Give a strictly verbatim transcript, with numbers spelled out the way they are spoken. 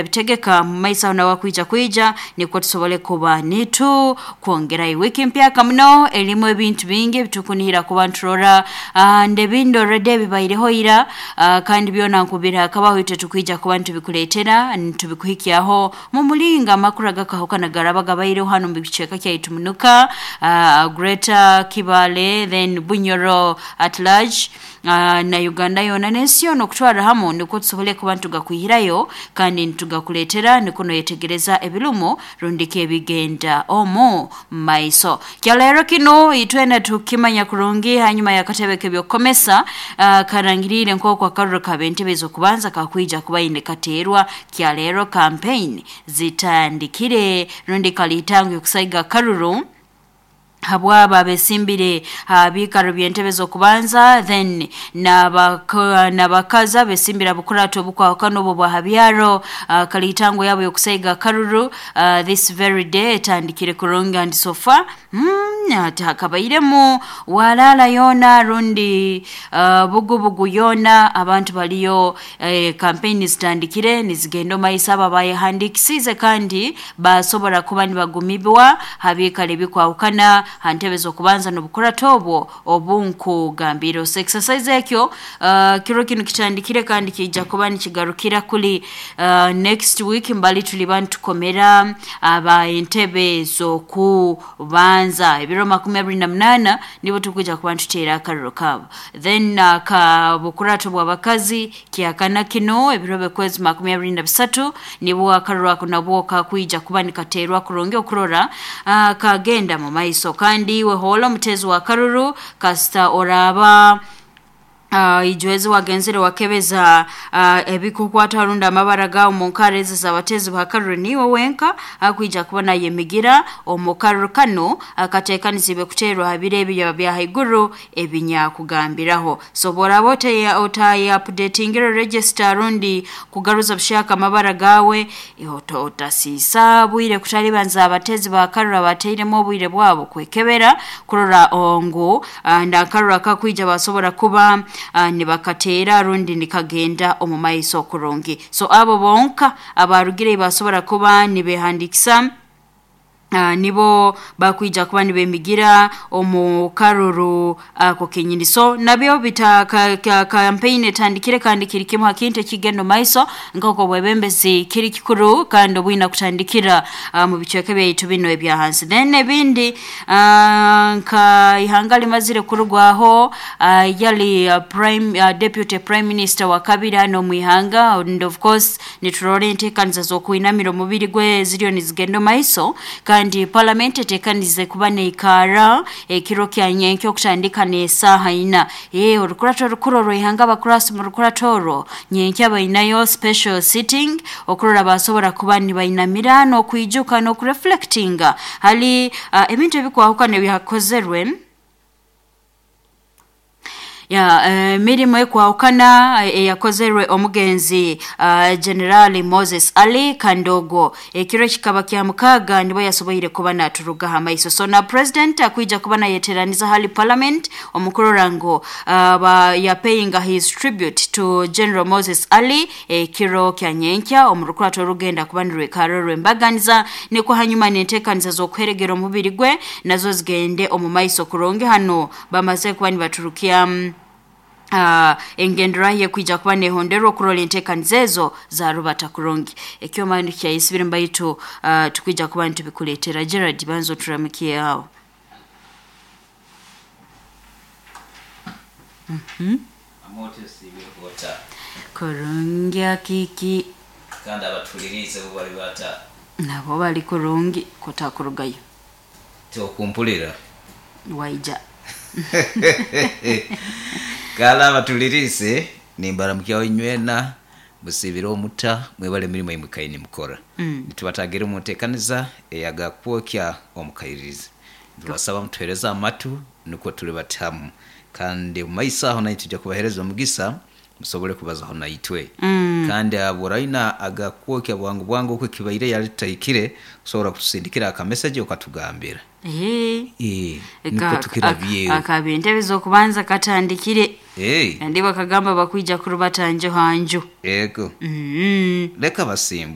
Bitegeka mu maiso aho nawe kwija kwija nikwo tusobole kuba nitu kwongerayo wiki mpyaka muno erimu ebintu bingi ebitukunihira kuba nturora uh, ndebindi already ebibaireho ira uh, kandi byona nkubira hakabaho itwe tukwija kuba ntubikuleetera ntubikuhikyaho mu mulinga amakuru agakahukana garaba gabaireho hano mu bicweka kyaitu munuka uh, Greater Kibale, then Bunyoro at large, uh, na Uganda yona n'ensi yona okutwara hamu nikwo tusobole kuba ntugakwihirayo kandi ntugakuleetera nikwo noyetegereza ebirumu rundiki ebigenda omu maiso. Kyaleero kino itwena tukimanya kurungi hanyuma y'akatebe k'ebyokukomesa uh, karangiriire nk'oku akaruru k'ab'entebe ez'okubanza kakwija kuba ine kateerwa. Kyaleero campaign zitandikire rundi kalitango okusaiga akaruru habwaba abesimbire abiikaro by'entebe z'okubanza, then n'abakazi abesimbire abukurato obukwahukana obwo bwa habyaro. uh, kalitango yabo y'okusaiga akaruru uh, this very day etandikire kurungi and so far mm, ati hakabairemu walaala yoona rundi uh, bugubugu yoona abantu baliyo eh, campaign zitandikire nizigenda omaiso. Abo abayehandikisize kandi basobora kuba nibagumibwa habiikaro ebikwahukana ha ntebe z'okubanza n'obukurato obwo obunkugambire. So exercise ekyo uh, kiro kinu kitandikire kandi kijja kuba nikigarukira kuli uh, next week mbali tuliba nitukomera aba entebe z'okubanza ebiro makumi abiri na munaana nibo tukwija kuba nituteera akariro kaabo. Then uh, ka bukurato bw'abakazi kyakana kino ebiro by'okwezi makumi abiri na bisatu nibwo akariro ako nabwo kakwija kuba nikateerwa kurungi okurora uh, kagenda mu maiso. Kandi iwe hoola omutezi wa karuru kasita oraaba uh, ijwezi wagenzere wakebeza uh, ebikukwata runda amabara gawo mu nkara ezi z'abatezi ba karuru niwe wenka akwija kubona yemigira omu karuru kano akateekaniziibwe kuteerwa ha biro ebyo bya haiguru ebinyakugambiraho. So bw'oraaba otaye otaye updatingire register rundi kugaruza bushaka amabara gawe, otasiisa bwire kutalibanza abatezi ba karuru abateiremu obwire bwabo kwekebera kurora ngu uh, ndakaruru akakwija basobora kuba uh, nibakateera rundi nikagenda omu maiso kurungi. So abo bonka abarugire basobora kuba nibehandikisa Uh, nibo bakwija kuba nibemigira omu karuru ako uh, kenyini. So nabyo bita ka, ka, campaign etandikire kandi kiri kimu hakintu ekigenda omu maiso nk'oku obwebembezi kiri kikuru kandi obwina kutandikira uh, mu bicweka byaitu bino ebya hansi. Then ebindi uh, nka ihanga limazire kurugwaho uh, yali uh, prime uh, deputy prime minister wa kabiri hano mu ihanga, and of course niturora enteekaniza z'okwinamira omubiri gwe ziriyo nizigenda omu maiso kandi parliament etekanize kuba neikara ekiro kya nyenkyo okutandika n'esaaha ina. Eh orukurato orukuru orw'ihanga abakurasi mu rukurato orwo nyenkya bainayo special sitting okurora basobora kuba nibainamira n'okwijuka n'okureflectinga hali uh, ebintu ebikwahukana ebyakozerwe ya uh, mirimo ekwahukana eyakozerwe omugenzi uh, General Moses Ali Kandogo. Ekiro kikaba kya mukaaga nibo yasoboire kuba naturuga hamaiso. So na president akwija kuba nayeteraniza hali parliament omukurora ngu uh, ba ya paying his tribute to General Moses Ali ekiro kya nyenkya omurukurato orugenda kuba nirwekaro rwembaganiza niko hanyuma n'enteekaniza z'okuheregera omubiri gwe nazo zigende omu maiso kurungi. Hano bamaze kuba nibaturukia Uh, engendera ye kwija kuba nehonderwa okurola enteekaniza ezo zarubata kurungi. Ekyoma kyayisibire mbaitu uh, tukwija kuba ntubikuleetera. Gerard banza oturamikie aho. Mhm. Kurungi akiki kandi abatulirize bo bali bata nabo bali kurungi kutakurugayo tyokumpulira waija kala abatulirize nimbaramukyaho inywena musibire omuta mwebale emirimu imwe mukora mm. Nitubatagire omunteekaniza eyagakwokya omukairirizi. Tubasaba mutuhereze amatu nukwo tuli batamu kandi mumaiso aho naitwe tujja kubahereza omugisa musobole kubazaho naitwe mm. Kandi aburaina agakwokya bwangu bwangu okwo kibaire yali tutahikire kusobora kutusindikira akameseji okatugambira. Eh. Eh, niko tukirabyeyo. Akaba entebe z'okubanza katandikire. Eh. Ndi bakagamba bakwija kurubata njo hanju. Ego. Mm. Leka basimbule.